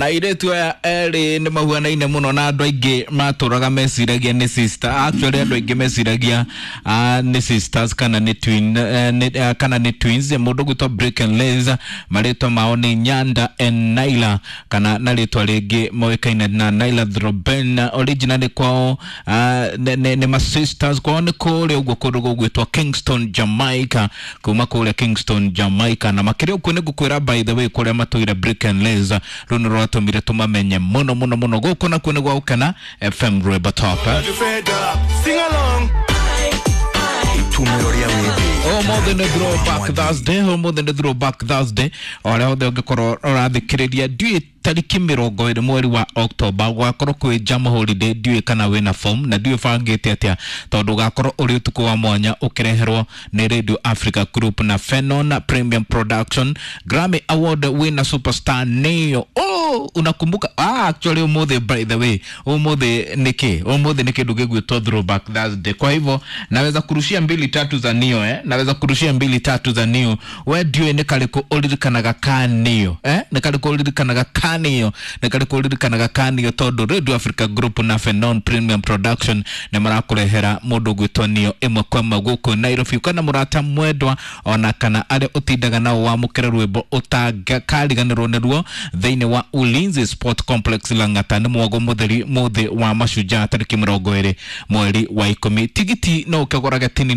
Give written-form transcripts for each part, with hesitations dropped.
Na airĩtu aya erĩ nĩ mahuanaine mũno na andũ aingĩ matũraga meciragia nĩ sister. Actually andũ aingĩ meciragia nĩ sisters kana nĩ twin, kana nĩ twins. Mũndũ ũgwĩtwo Brick and Liz, marĩtwa mao nĩ Nyanda and Naila, kana na rĩtwa rĩngĩ moĩkaine na Naila Throben. Originally kwao nĩ ma sisters, kwao nĩ kũrĩa ũguo kũndũ gũgwĩtwo Kingston, Jamaica, kuma kũrĩa Kingston, Jamaica. Na makĩria ũguo nĩ ngũkwĩra, by the way, kũrĩa matũire Brick and Liz, rũu nĩ rwatũmire tũmamenye mũno mũno mũno. Gũkũ nakuo nĩ gwa Gũkena FM, Rwĩmbo Top. Sing along. Itumĩro rĩa wĩthĩ. Ũmũthĩ nĩ Throwback Thursday, ũmũthĩ nĩ Throwback Thursday. O arĩa othe ũngĩkorwo ũrathikĩrĩria, ndiũĩ tarĩki 20 mweri wa October gwakorwo kwĩ jam holiday, ndiũĩ kana wĩna form na ndiũĩ bangĩte atĩa, tondũ ũgakorwo ũrĩ ũtukũ wa mwanya ũkĩreherwo nĩ Radio Africa Group na Fenon Premium Production, Grammy Award winner superstar Neo. Oh, unakumbuka? Actually ũmũthĩ, by the way, ũmũthĩ nĩkĩ? Ũmũthĩ nĩ kĩndũ gĩgwĩtwo Throwback Thursday. Kwa hivyo naweza kurushia mbili tatu za Neo, eh? Naweza kurushia mbili tatu za Neo. We ndiũĩ nĩ karĩkũ ũririkanaga ka Neo, eh? Nĩ karĩkũ ũririkanaga ka Neo? Nĩ karĩkũ ũririkanaga ka Neo? Tondũ Radio Africa Group na Fenon Premium Production nĩ marakũrehera mũndũ ũgwĩtwo Neo ĩmwe kwa ĩmwe gũkũ Nairobi. Kana mũrata mwendwa ona kana arĩa ũtindaga nao, wamũkĩre rwĩmbo ũtangĩkariganĩrwo nĩruo thĩinĩ wa Ulinzi Sport Complex Lang'ata, nĩ mwago mũtheri mũthĩ wa mashujaa, tarĩki 20 mweri wa 10. Tigiti no ũkĩgũrage tene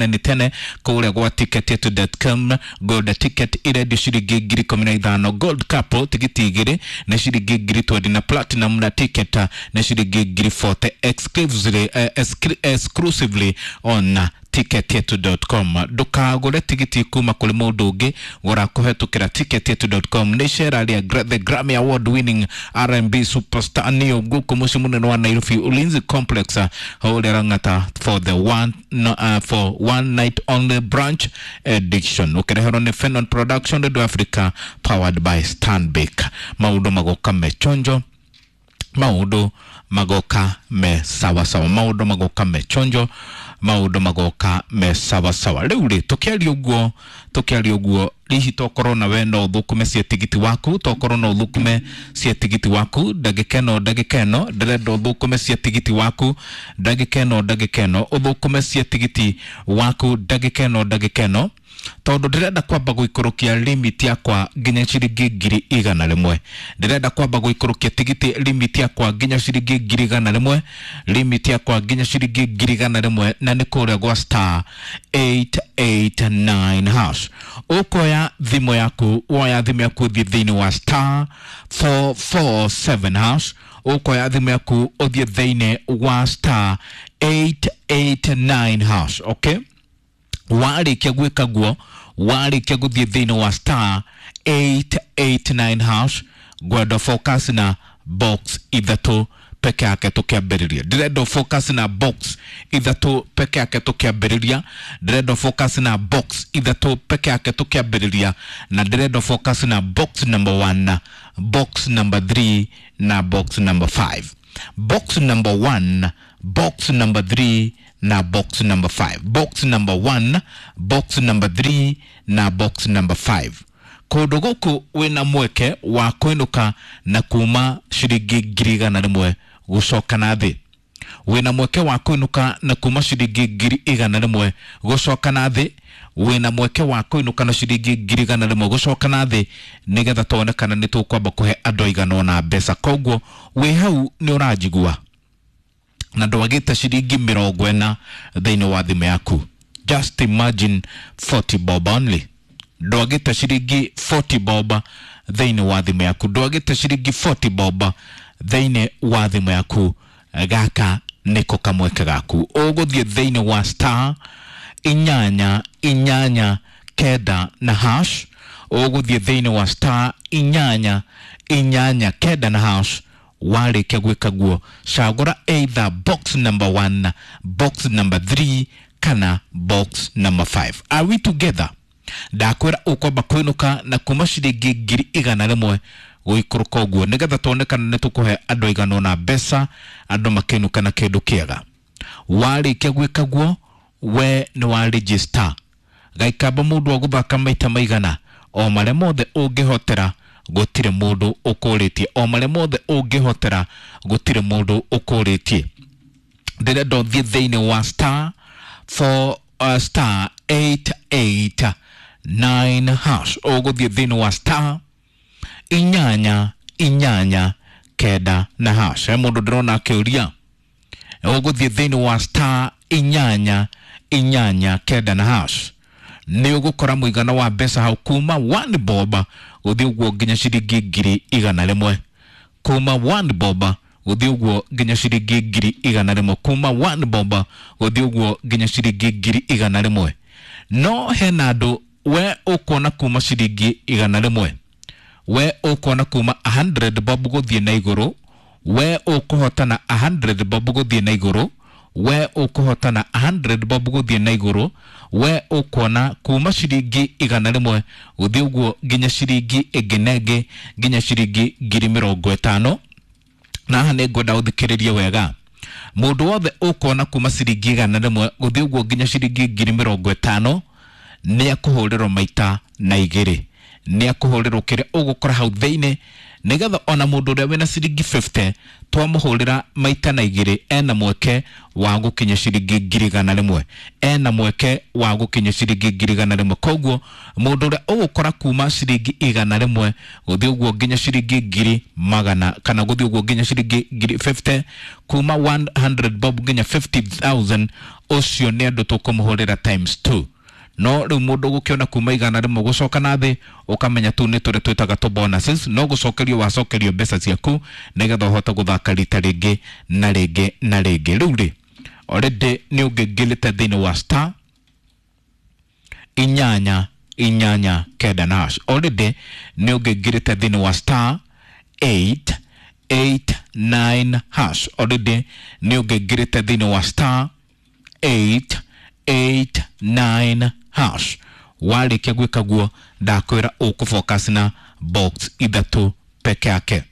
nĩ tene kũrĩa gwa ticketyetu.com. Gold ticket irendio ciringi 15,000, gold couple tigiti 2 nĩ ciringi 20,000, na platinum na ticket nĩ ciringi 40,000, exclusively on ticketyetu.com. Ndũkagũre tigiti kuma kũrĩ mũndũ ũngĩ, gũra kũhetũkĩra ticketyetu.com. Nĩ icera rĩa the Grammy Award winning R&B superstar Neo gũkũ mũciĩ mũnene wa Nairobi, Ulinzi Complex haũrĩa Lang'ata, for the one, no, for one night only branch edition, ũkĩreherwo nĩ Fenon Production, Radio Africa, powered by Stanbic. Maũndũ magoka mechonjo, maũndũ magoka me sawasawa, maũndũ magoka me chonjo, maũndũ magoka me sawasawa. Rĩu rĩ, tũkĩaria ũguo, tũkĩaria ũguo, hihi tokorwo na we no ũthũkũme cia tigiti waku, tokorwo no ũthũkũme cia tigiti waku ndagĩka ĩno, ndagĩka ĩno ndĩrenda ũthũkũme cia tigiti waku ndagĩka ĩno, ndagĩka ĩno ũthũkũme cia tigiti waku ndagĩka ĩno, ndagĩka ĩno, tondũ ndĩrenda kwamba gũikũrũkia limit yakwa nginya ciringi 100,000. Ndĩrenda kwamba gũikũrũkia tigiti limit yakwa nginya ciringi 100,000, limit yakwa nginya ciringi 100,000, na nĩ kũrĩa gwa star 889 hash. Ũkoya thimũ yaku, woya thimũ yaku, ũthiĩ thĩinĩ wa star 447 hash. Ũkoya thimũ yaku, ũthiĩ thĩinĩ wa star 889 hash, okay? Warĩkia gwĩka guo, warĩkia gũthiĩ thĩinĩ wa star 889 hash, ngwenda focus na box ithatũ peke yake tũkĩambĩrĩria. Ndĩrenda focus na box ithatũ peke yake tũkĩambĩrĩria. Ndĩrenda focus na box ithatũ peke yake tũkĩambĩrĩria, na ndĩrenda focus na box number 1, box number 3 na box number 5. Box number 1, box number 3 na box number 5. Box number 1, box number 3 na box number 5. Kũndũ gũkũ wĩna mweke wa kũinũka na kuma ciringi 100,000 gũcoka na thĩ. Wĩna mweke wa kũinũka na kuma ciringi 100,000 gũcoka na thĩ. Wĩna mweke wa kũinũka na ciringi 100,000 gũcoka na thĩ, nĩgetha tuone kana nĩ tũkwamba kũhe andũ aigana ũna mbeca. Koguo wĩ hau nĩ ũranjigua na ndwagĩte ciringi 40 thĩinĩ wa thimũ yaku. Just imagine, 40 bob only. Ndwagĩte ciringi 40 bob thĩinĩ wa thimũ yaku, ndwagĩte ciringi 40 bob thĩinĩ wa thimũ yaku. Gaka nĩko kamweke gaku. Ũgũthiĩ thĩinĩ wa star 889 na hash. Ũgũthiĩ thĩinĩ wa star 889 na hash. Warĩkia gwĩka guo, cagũra either box number 1, box number 3 kana box number 5. Are we together? Ndakwĩra ũkwamba kũinũka na kuma ciringi 100,000 gũikũrũka ũguo, nĩgetha tuone kana nĩ tũkũhe andũ aigana ũna mbeca, andũ makĩinũka na kĩndũ kĩega. Warĩkia gwĩka guo, we nĩ wa register gaikamba mũndũ wa gũthaka maita maigana o marĩa mothe ũngĩhotera. Gũtirĩ mũndũ ũkũrĩtie, o marĩa mothe ũngĩhotera gũtirĩ mũndũ ũkũrĩtie. Ndĩrenda ũthiĩ thĩinĩ wa star 4 star 889 hash. Ũgũthiĩ thĩinĩ wa star 8 8 9 na hash. He mũndũ ndĩrona akĩũria, ũgũthiĩ thĩinĩ wa star 8 8 9 na hash, nĩ ũgũkora mũigana wa mbeca hau kuma 1 bob gũthiĩ ũguo nginya ciringi 100,000. Kuma 1 bob gũthiĩ ũguo nginya ciringi 100,000. Kuma 1 bob gũthiĩ ũguo nginya ciringi 100,000. No hena andũ we ũkuona kuma ciringi 100, we ũkuona kuma 100 bob gũthiĩ na igũrũ, we ũkũhotana 100 bob gũthiĩ na igũrũ, we ũkũhotana 100 bob gũthiĩ na igũrũ, we ũkuona kuma ciringi 100 gũthiĩ ũguo nginya ciringi ĩngĩ na ĩngĩ nginya ciringi 50,000. Na haha nĩ ngwenda ũthikĩrĩrie wega. Mũndũ wothe ũkuona kuma ciringi 100 gũthiĩ ũguo nginya ciringi 50,000 nĩ akũhũrĩrwo maita na igĩrĩ, nĩ akũhũrĩrwo kĩrĩa ũgũkora hau thĩinĩ, nĩgetha ona mũndũ ũrĩa wĩna ciringi 50 twamũhũrĩra maita na igĩrĩ ena mweke wa gũkinya ciringi 100,000, ena mweke wa gũkinya ciringi 100,000. Koguo mũndũ ũrĩa ũgũkora kuma ciringi 100 gũthiĩ ũguo nginya ciringi 100,000 kana gũthiĩ ũguo nginya ciringi 50, kuma 100 bob nginya 50,000, ũcio nĩ andũ tũkũmũhũrĩra times 2. No rĩu mũndũ ũgũkĩona kuma 100 gũcoka na thĩ, ũkamenya tu nĩ tũrĩa twĩtaga tũ bonuses, no gũcokerio wacokerio mbeca ciaku nĩgetha ũhote gũthaka rita rĩngĩ na rĩngĩ na rĩngĩ. Rĩu rĩ, already nĩ ũngĩngĩrĩte thĩinĩ wa star 8 8 9 na hash. Already nĩ ũngĩngĩrĩte thĩinĩ wa star 8 8 9 hash. Already nĩ ũngĩngĩrĩte thĩinĩ wa star 8 8 9 hash. Warĩkia gwĩka guo, ndakwĩra ũkũfocus na box ithatũ peke yake.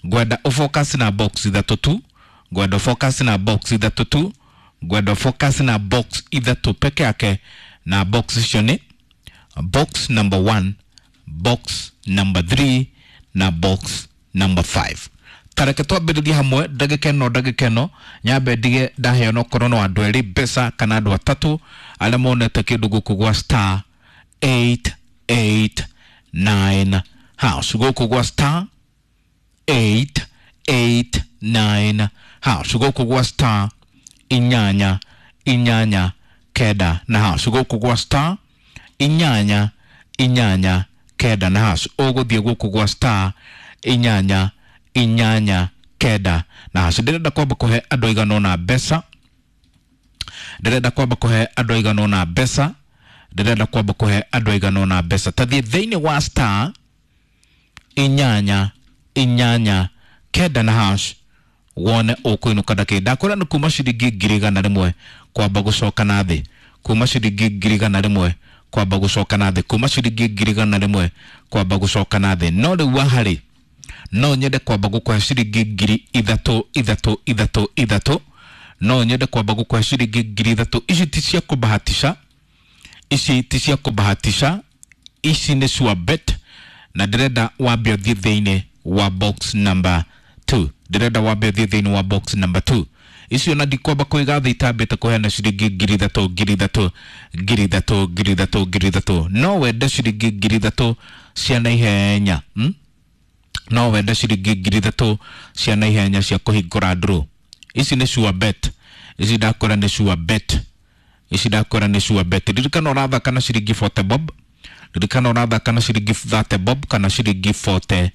Ngwenda ũfocus na box ithatũ tu, ngwenda ũfocus na box ithatũ tu, ngwenda ũfocus na box ithatũ peke yake. Na box icio nĩ box number 1, box number 3 na box number 5. Tareke twambĩrĩrie hamwe ndagĩka ĩno, ndagĩka ĩno nyambe ndige ndaheo no korwo no andũ erĩ mbeca kana andũ atatũ arĩa monete kĩndũ gũkũ gwa star 889 hash. Gũkũ gwa star 889 hash. Gũkũ gwa star 8 8 9 na hash. Gũkũ gwa star 8 8 9 na hash. Ũgũthiĩ gũkũ gwa star 8 8 9 na hash. Ndĩrenda kwamba kũhe andũ aigana ũna mbeca, ndĩrenda kwamba kũhe andũ aigana ũna mbeca, ndĩrenda kwamba kũhe andũ aigana ũna mbeca. Tathiĩ thĩinĩ wa star 8 8 9 na hash wone ũkũinũka na kĩ. Ndakwĩra nĩ kuma ciringi 100,000 kwamba gũcoka na thĩ, kuma ciringi 100,000 kwamba gũcoka na thĩ, kuma ciringi 100,000 kwamba gũcoka na thĩ. No rĩu haha no nyende kwamba gũkũhe ciringi 3,000 3 3 3. No nyende kwamba gũkũhe ciringi 3,000. Ici ti cia kũbahatisha, ici ti cia kũbahatisha, ici nĩ sure bet, na ndĩrenda wambe ũthiĩ thĩinĩ wa box number 2. Ndĩrenda wambe ũthiĩ thĩinĩ wa box number 2. Icio na ndikwamba kũiga thĩ itambĩte kũheana ciringi 3,000 3,000 3,000 3,000 3,000. No wende ciringi 3,000 cia naihenya, No wende ciringi 3,000 cia naihenya cia kũhingũra draw. Ici nĩ sure bet, ici ndakwĩra nĩ sure bet, ici ndakwĩra nĩ sure bet. Ririkana ũrathaka na ciringi 40 bob, ririkana ũrathaka na ciringi 30 bob kana ciringi 40,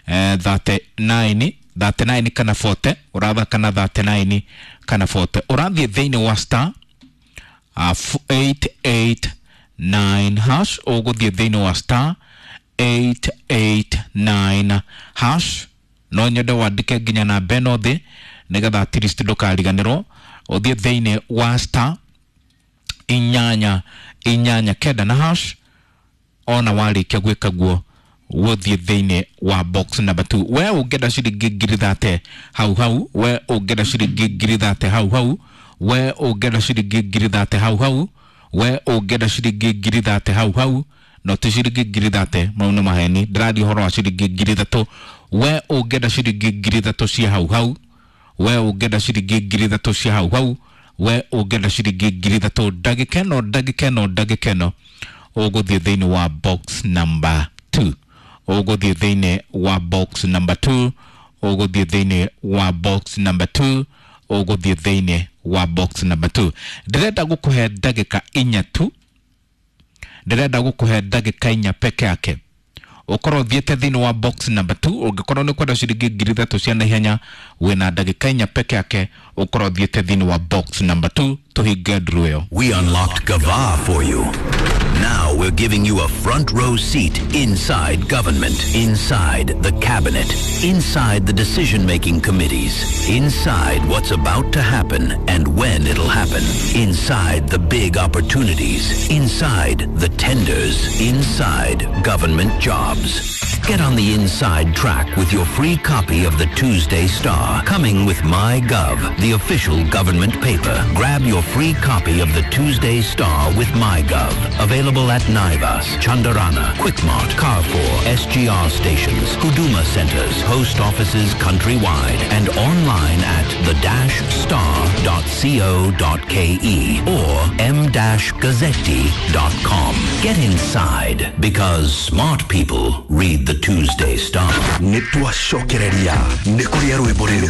39, 39 kana 40. Ũrathaka na 39 kana 40. Ũrathiĩ thĩinĩ wa star 889 hash. Ũgũthiĩ thĩinĩ wa star 889 hash. No nyende wandĩke nginya namba ĩno thĩ nĩgetha at least ndũkariganĩrwo. Ũthiĩ thĩinĩ wa star 8 8 9 na hash. Ona warĩkia gwĩka guo gũthiĩ thĩinĩ wa box number 2. We ũngĩenda ciringi 30,000 hau hau, we ũngĩenda ciringi 30,000 hau hau, we ũngĩenda ciringi 30,000 hau hau, we ũngĩenda ciringi 30,000 hau hau, No ti ciringi 30,000, mau nĩ maheni. Ndĩraria ũhoro wa ciringi 3,000. We ũngĩenda ciringi 3,000 cia hau hau, we ũngĩenda ciringi 3,000 cia hau hau, we ũngĩenda ciringi 3,000 ndagĩka ĩno, ndagĩka ĩno, ndagĩka ĩno, ũgũthiĩ thĩinĩ wa box number 2, ũgũthiĩ thĩinĩ wa box number 2, ũgũthiĩ thĩinĩ wa box number 2, ũgũthiĩ thĩinĩ wa box number 2. Ndĩrenda gũkũhe ndagĩka 4 tu, ndĩrenda gũkũhe ndagĩka 4 peke yake ũkorwo ũthiĩte thĩinĩ wa box number 2. Ũngĩkorwo nĩ kwenda ciringi 3,000 cia naihenya, wĩna ndagĩka 4 peke yake ũkorwo ũthiĩte thĩinĩ wa box number 2, tũhinge nduru ĩyo. We unlocked Gava for you. Now we're giving you a front row seat inside government, inside the cabinet, inside the decision-making committees, inside what's about to happen and when it'll happen, inside the big opportunities, inside the tenders, inside government jobs. Get on the inside track with your free copy of the Tuesday Star, coming with MyGov, the official government paper. Grab your free copy of the Tuesday Star with MyGov. Available at Naivas, Chandarana, Quickmart, Carrefour, SGR stations, Huduma centers, post offices countrywide, and online at the-star.co.ke or m-gazzetti.com. Get inside because smart people read the Tuesday Star. Nĩ twacokereria nĩ kũrĩa rwĩmbo rĩrĩ.